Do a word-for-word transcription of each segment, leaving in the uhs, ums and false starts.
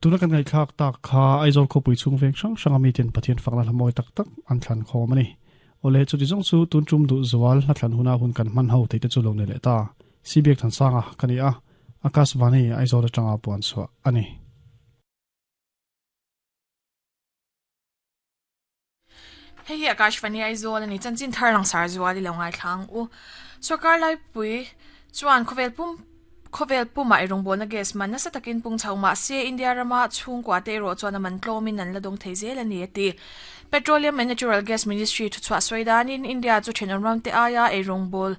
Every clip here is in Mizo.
Tuna kan ngai thlak tak kha Aizawl khawpui chung veng hrang hrang ami ten Pathian fakna hla mawi tak tak an thlan khawm ani. Ole chu ti zawng chu tun tum du zual hla thlan huna hun kan man ho theite chu lo ne le ta. Sibiak than sanga kani a Akashvani Aizawl atanga puan chhuah ani. Hei hi Akashvani Aizawl ani chanchin thar lang sar zual i lo ngai thlang u. Sarkar lai pui chuan khawvel pum khawvel puma eirawng na gas man nasa takin pung chho ma se India rama chhungkua te erawh chuan a man tlawmin an la dawng thei zel ani ati. Petroleum and Natural Gas Ministry thu chhuah sawi danin India chu thenawm ram te aia eirawng bawl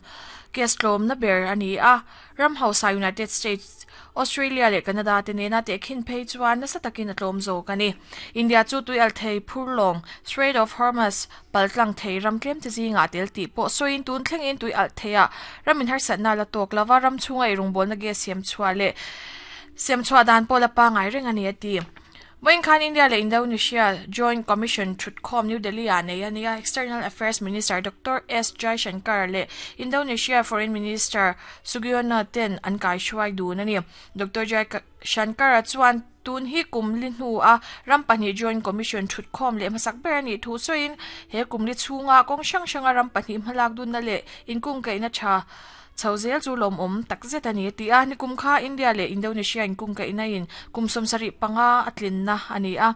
gas tlawm na ber ani a. Ram hausa United States, Australia leh Canada te nena te khin phei chuan nasa takin a tlawm zawk ani. India chu tui al thei phurlawng Strait of Hormuz paltlang thei ram tlem te zinga tel tih pawh sawiin tun thlengin tui al theia ramin harsatna la tawk lova ram chhunga eirawng bawl na gas siam chhuah leh siam chhuah dan pawh la pangai reng ani ati. Vawiin khan India leh Indonesia Joint Commission thutkhawm New Delhi ah nei ania External Affairs Minister Doctor S Jaishankar leh Indonesia Foreign Minister Sugiono ten an kai hruai dun ani. Doctor Jaishankar chuan tun hi kum li hnu a ram pahnih Joint Commission thutkhawm leh hmasak ber ani thu sawiin he kum li chhunga kawng hrang hranga ram pahnih hmalak dunna leh inkung kaihna tha chho zel chu lawm awm tak zet ani ti a. Nikum kha India leh Indonesia inkung kaihna in kum sawmsarih panga a tlinna ani a.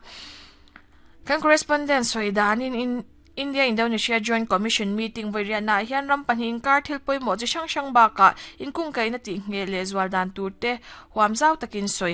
Kan correspondent sawi danin in India Indonesia Joint Commission meeting vawiriahna ah hian ram pahnih inkar thil pawimawh chi hrang hrang bakah inkung kaihna tih nge leh zual dan tur te huam zau takin sawi